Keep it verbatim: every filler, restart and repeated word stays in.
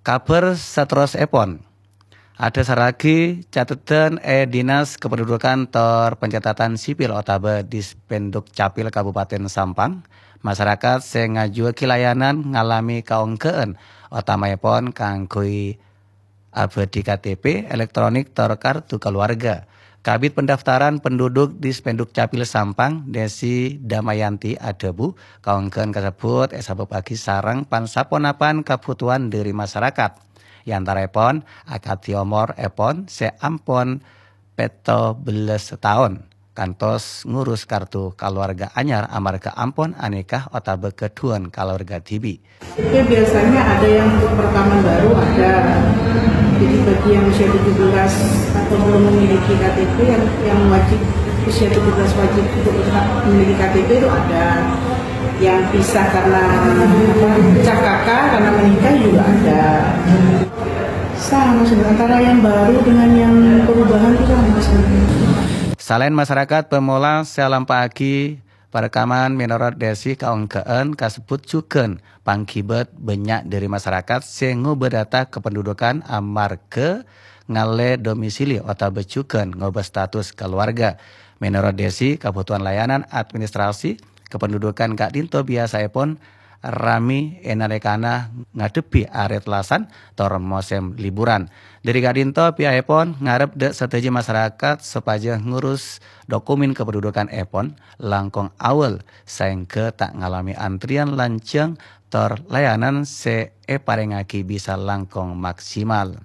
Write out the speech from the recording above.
Kabhâr saterrossèpon, adhâsarraghi cateddhân è Dinas Kependudukan tor Pencatatan Sipil otabâ Dispenduk Capil Kabupaten Sampang, masarakat sè ngajuwâghi layanan ngalamè kaonggghâ'ân, otamaèpon kaangghuy abâdhi K T P elektronik tor kartu kaluwarga. Kabid Pendaftaran Penduduk Dispenduk Capil Sampang, Desi Damayanti adhâbu, kaonggghâ'ân kasebbhut èsabâbbhâghi sareng pan-saponapan kabhutowan dhâri masarakat. È antaraèpon, akadhi omorèpon sè ampon pètto bellâs taon, kantos ngurus kartu kaluwarga anyar amarghâ ampon anikah otabâ ghâdhuwân kaluwarga dhibi'. Itu biasanya ada yang untuk perekaman baru, ada. Jadi bagi yang usia tujuh belas atau belum memiliki K T P, yang, yang wajib, usia tujuh belas wajib untuk tetap memiliki K T P itu ada. Yang pisah karena apa, pecah K K karena menikah juga ada. Sama sebenarnya, antara yang baru dengan yang perubahan itu sama sebenarnya. Salaèn masarakat pamolè sè alampa'aghi parekaman, mènorot Desi, kaonggghâ'ân kasebbhut jhughân pangghibât bânnya' dhâri masarakat sè ngobâ data kependudukan amarghâ ngallè domisili otabâ jhughân ngobâ status kaluwarga. Mènorot Desi, kabhutowan layanan administrasi kependudukan ka'dinto biyasaèpon ramè è nalèkana ngadhebbhi arè tellasan tor mosèm liburan. Dhâri ka'dinto pihakèpon ngarep dâ' sadhâjâ masarakat sopajâ ngurus dokumen kependudukanèpon langkong awal, saèngghâ ta' ngalamè antrèyan lanjhâng tor layanan sè èparèngaghi bisa langkong maksimal.